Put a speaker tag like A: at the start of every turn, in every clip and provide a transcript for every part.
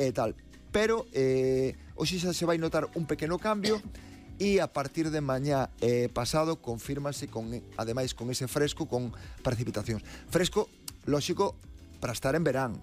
A: e tal. Pero hoxe xa se vai notar un pequeno cambio e a partir de mañá pasado confírmase ademais con ese fresco con precipitacións. Fresco, lóxico, para estar en verán.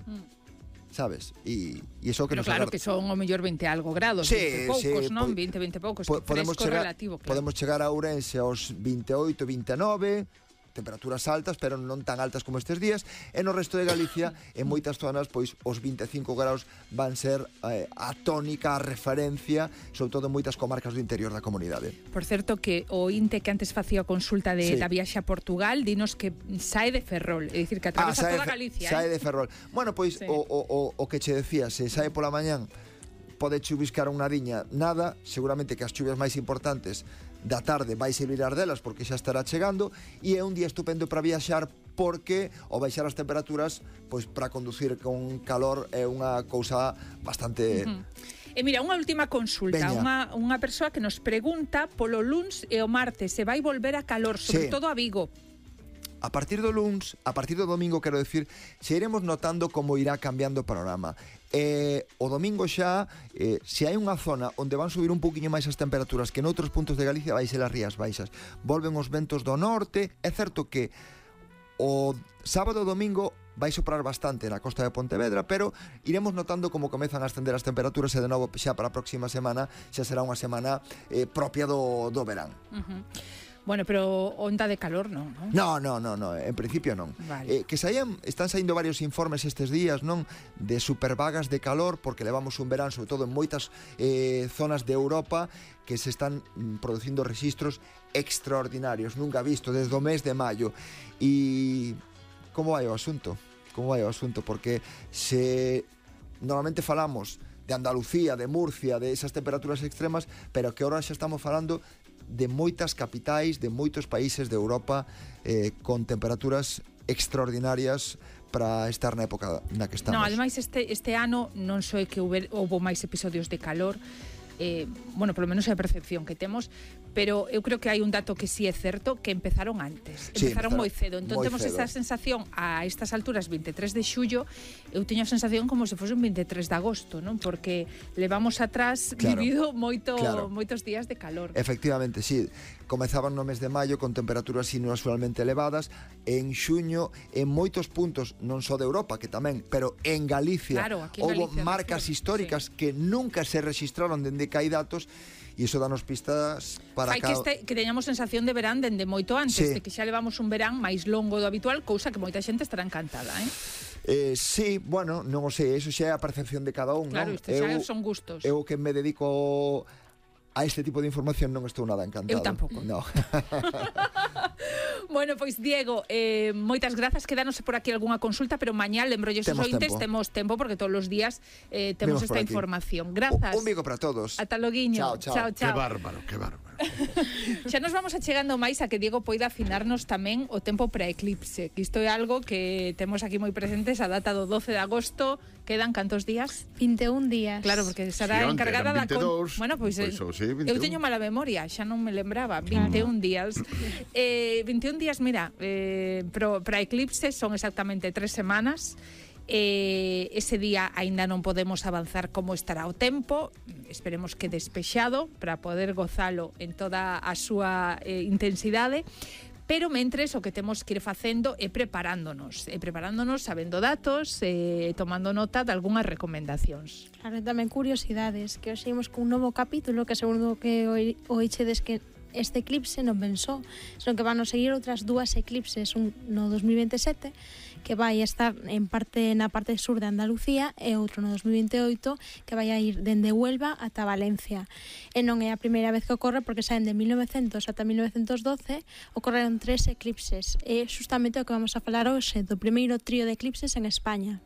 A: Sabes? E iso que
B: pero
A: nos
B: claro que son o mellor 20 algo grados,
A: sí,
B: 20 poucos,
A: sí,
B: non? 20 poucos, fresco relativo, claro.
A: Podemos chegar a Ourense aos 28, 29, temperaturas altas, pero non tan altas como estes días, e no resto de Galicia, en moitas zonas, pois os 25 graus van ser a tónica, a referencia, sobre todo en moitas comarcas do interior da comunidade.
B: Por certo, que o INTE que antes facía a consulta da viaxe a Portugal, dinos que sae de Ferrol, é dicir, que atravesa toda Galicia.
A: Sae de Ferrol. Bueno, pois, sí. o que che decía, se sae pola mañán, pode chubiscar unha diña, nada, seguramente que as chuvias máis importantes da tarde vai se librar delas porque xa estará chegando, e é un día estupendo para viaxar porque ao baixar as temperaturas, pois para conducir con calor é unha cousa bastante...
B: E mira, unha última consulta, unha persoa que nos pregunta polo luns e o martes se vai volver a calor, sobre todo a Vigo.
A: A partir do luns, a partir do domingo, quero decir, xa iremos notando como irá cambiando o panorama. O domingo xa, se hai unha zona onde van subir un poquinho máis as temperaturas que noutros puntos de Galicia, vai ser as Rías Baixas. Volven os ventos do norte. É certo que o sábado e domingo vai soprar bastante na costa de Pontevedra, pero iremos notando como comezan a ascender as temperaturas e de novo xa para a próxima semana xa será unha semana propia do verán.
B: Bueno, pero onda de calor non, non?
A: No, en principio non.
B: Vale.
A: Que están saindo varios informes estes días, non? De supervagas de calor, porque levamos un verán, sobre todo en moitas zonas de Europa, que se están producindo registros extraordinarios, nunca visto, desde o mes de maio. E como vai o asunto? Porque se normalmente falamos de Andalucía, de Murcia, de esas temperaturas extremas, pero que ahora xa estamos falando de moitas capitais, de moitos países de Europa con temperaturas extraordinarias para estar na época na que estamos.
B: Non, ademais este ano non só é que houve máis episodios de calor, bueno, polo menos é a percepción que temos, pero eu creo que hai un dato que sí é certo, que empezaron antes, empezaron moi cedo, entón temos esa sensación a estas alturas, 23 de xullo, eu teño a sensación como se fose un 23 de agosto, non? Porque levamos atrás vivido moitos días de calor.
A: Efectivamente, sí, comezaban no mes de maio con temperaturas inusualmente elevadas, en xuño en moitos puntos, non só de Europa, que tamén, pero en Galicia, houve marcas históricas que nunca se registraron dende que hai datos, e iso danos pistas para
B: que teñamos sensación de verán dende moito antes, de que xa levamos un verán máis longo do habitual, cousa que moita xente estará encantada,
A: sí, bueno, non o sei, eso xa é a percepción de cada un,
B: claro,
A: non?
B: Isto xa son gustos.
A: Eu que me dedico a este tipo de información non estou nada encantado.
B: Eu tampouco.
A: No.
B: Bueno, pois Diego, moitas grazas, quedanos por aquí algunha consulta, pero mañá lembrolles os ointes, temos tempo porque todos os días temos esta información. Grazas.
A: Un bico para todos.
B: Ata loguiño.
A: Chao.
C: Que bárbaro.
B: Xa nos vamos achegando máis a que Diego poida afinarnos tamén o tempo para eclipse, que isto é algo que temos aquí moi presentes, a data do 12 de agosto. Quedan cantos días?
D: 21 días.
B: Claro, porque será encargada da... Bueno, pois eu teño mala memoria, xa non me lembraba. 21 días. 21 días, mira, para eclipse son exactamente 3 semanas. Ese día aínda non podemos avanzar como estará o tempo. Esperemos que despexado para poder gozalo en toda a súa intensidade. Pero mentres o que temos que ir facendo é preparándonos, sabendo datos, tomando nota de algunhas recomendacións.
D: Claro, tamén curiosidades, que hoxe imos cun novo capítulo que seguro que oichedes que este eclipse non pensou, senón que van a seguir outras dúas eclipses, un no 2027 que vai estar na parte sur de Andalucía e outro no 2028 que vai a ir dende Huelva ata Valencia. E non é a primeira vez que ocorre porque saen de 1900 ata 1912 ocorreron 3 eclipses e justamente o que vamos a falar hoxe do primeiro trío de eclipses en España.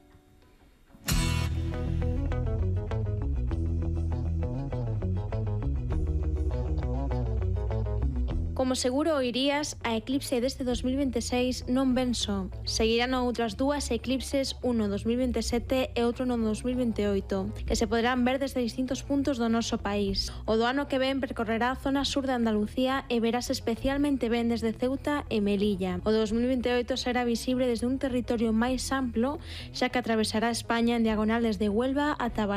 D: Como seguro oirías, a eclipse deste 2026 non ven só. Seguirán outras dúas eclipses, un no 2027 e outro no 2028, que se poderán ver desde distintos puntos do noso país. O do ano que ven percorrerá a zona sur de Andalucía e verás especialmente ben desde Ceuta e Melilla. O 2028 será visible desde un territorio máis amplo, xa que atravesará España en diagonal desde Huelva ata Valencia.